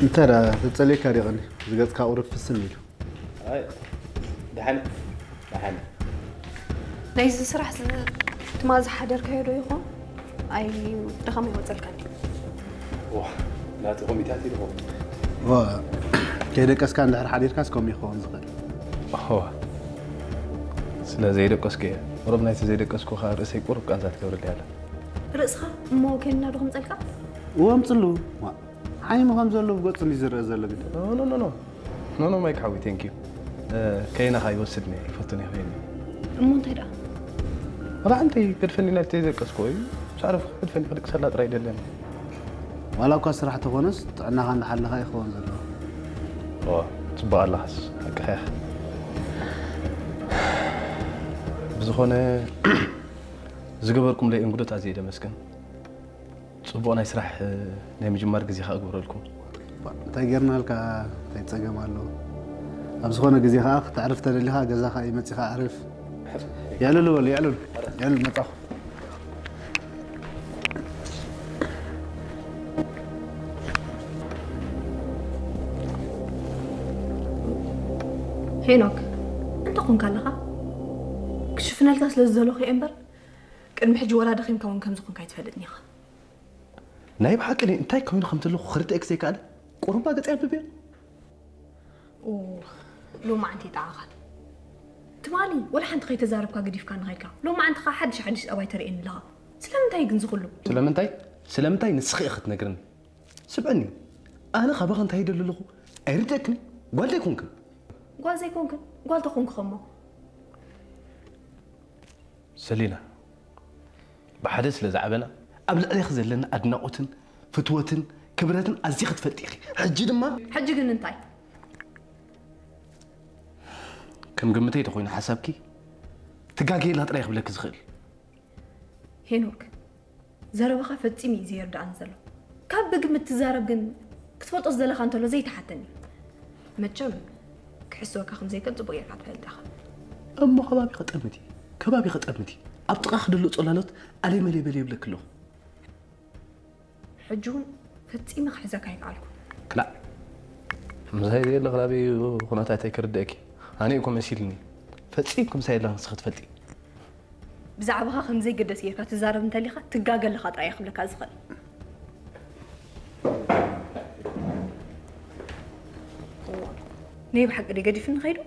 እንተ ደኣ ተጸልየካ ዲቕኒ ዝገጽካ ቁሩብ ፍስም ኢሉ። ኣይ፣ ደሓን፣ ደሓን። ናይዚ ስራሕ ትማ ዝሓደርካዮ ዶ ይኾን? ኣይ፣ ድኻም ኣይወጸልካን ድዩ? ዋ፣ ናቲ ኮሚታት ኢልኹም። ዋ፣ ከይደቀስካ እንድሕር ሓዲርካስ ከምኡ ይኸውን ዝኽእል። ዋ፣ ስለ ዘይደቀስኩ እየ። ቁሩብ ናይቲ ዘይደቀስኩ ከዓ ርእሰይ ቁሩብ ቃንዛ ትገብርልይ ኣላ። ርእስኻ እሞ ከይንና ዶ ክምጸልካ? እወ፣ ኣምጽሉ። ዋ፣ ዓይኒ ከም ዘሎ ብገጹ እንዲ ዝረአ ዘሎ ግዲ። ኖ ኖ ኖ ኖ ኖ ኖ ማይክ ሓዊ ቴንክ ዩ። ከይናኻ ይወስድኒ ይፈቱን ይኽእል። እሞ እንታይ ደኣ? ራሕንቲ ገድፈኒ ናብቲ ዘይደቀስኩ እዩ። ሳዕረፍ ገድፈኒ ክድቅሰላ ጥራይ ደለኒ። ዋላ እኳ ስራሕ ተኾነስ ጥዕናኻ እንዳሓለኻ ይኸውን ዘለዎ። ኦ፣ ጽቡቕ ኣለኻስ፣ ሓቅኻ ኢኻ። ብዝኾነ ዝገበርኩምለይ እንግዶት ኣዝየ ደመስግን። ጽቡቕ ናይ ስራሕ ናይ ምጅማር ግዜ ከኣ ግበረልኩም። እንታይ ጌርናልካ? እንታይ ጸገም ኣለዎ? ኣብ ዝኾነ ግዜ ከኣ ክተዕርፍ ተደሊኻ ገዛኻ እዩ መጺኻ ኣዕርፍ። የዕልሉ በሉ፣ የዕልሉ። የዕልሉ መጻኹ። ሄኖክ፣ እንታይ ኮንካ ኣለኻ? ክሽፍነልካ ስለ ዝደለኹ እየ እምበር ቅድሚ ሕጂ ወላ ደኺምካ እውን ከም ዝኾንካ ኣይትፈልጥን ኢኻ። ናይ ብሓቂ እኔ እንታይ ኮይኑ ከም ዘለኹ ክርድእክ ዘይከኣለ ቁሩባ ገጽ የንብብ እየ። ኦ፣ ሎማዓንቲ ይጠዓኻል። ትማሊ ወላ ሓንቲ ከይተዛረብካ ገዲፍካ ንኸይድካ ሎማዓንቲ ኸዓ ሓድሽ ሓድሽ ጸባይ ተርእየኒ ኣለኻ። ስለምንታይ ግን ዝኹሉ? ስለምንታይ? ስለምንታይ ንስኺ ኢኺ ትነግርኒ? ስምዕኒ፣ ኣነ ካባኺ እንታይ ይደሊ ኣለኹ ኣይርድእክን። ጓል ዘይኮንክን። ጓል ዘይኮንክን ጓል ተኾንኩ ኸሞ ሰሊና፣ ብሓደ ስለ ዝዓበና ኣብ ልዕሌኺ ዘለና ኣድናቖትን ፍትወትን ክብረትን ኣዚኺ ትፈልጢ ኢኺ። ሕጂ ድማ ሕጂ ግን እንታይ? ከም ግምተይ ተኾይኑ ሓሳብኪ ትጋገየላ ጥራይ ክብለኪ ዝኽእል። ሄኖክ፣ ዘረባኻ ፈጺሙ እዩ ዘይርድኣኒ ዘሎ። ካብ ብግምት ትዛረብ ግን ክትፈልጦ ዝደለኻ እንተሎ ዘይትሓተኒ። መቸም ክሕስወካ ከም ዘይክእል ጽቡቕ ጌርካ ትፈልጥ ኢኻ። እሞ ከባቢ ከጠምቲ፣ ከባቢ ከጠምቲ ኣብ ጥቓ ክደሎ ጾላሎት ኣለይ መለይ በል የብለክ ኣለኹ። ሕጂ እውን ፈጺመ ክሕዘካ ኣይከኣልኩ። ክላእ ምሳይ ዘየለ ክላበይ ኩነታተይ ክርድእኪ ኣነ እኮ መሲልኒ። ፈጺምኪ ምሳይ የለኽን ንስኺ ትፈልጢ። ብዛዕባኻ ከም ዘይገደስ ጌርካ ትዛረብ እንተሊኻ ትጋገ ኣለኻ ጥራይ እየ ክብለካ ዝኽእል። ናይ ብሓቂ ድዩ ገዲፍኒ ከይዱ?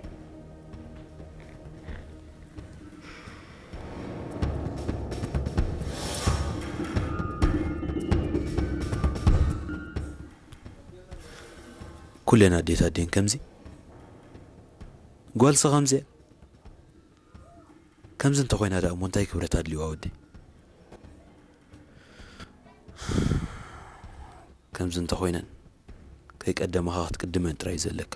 ኩለን ኣዴታት ድየን ከምዚ? ጓልሲ ከምዚ እያ። ከምዚ እንተኾይና ደኣ እሞ እንታይ ክብረት ኣድልዋ ወደይ? ከምዚ እንተኾይነን ከይቀደማኻ ክትቅድመን ጥራይ እዩ ዘለካ።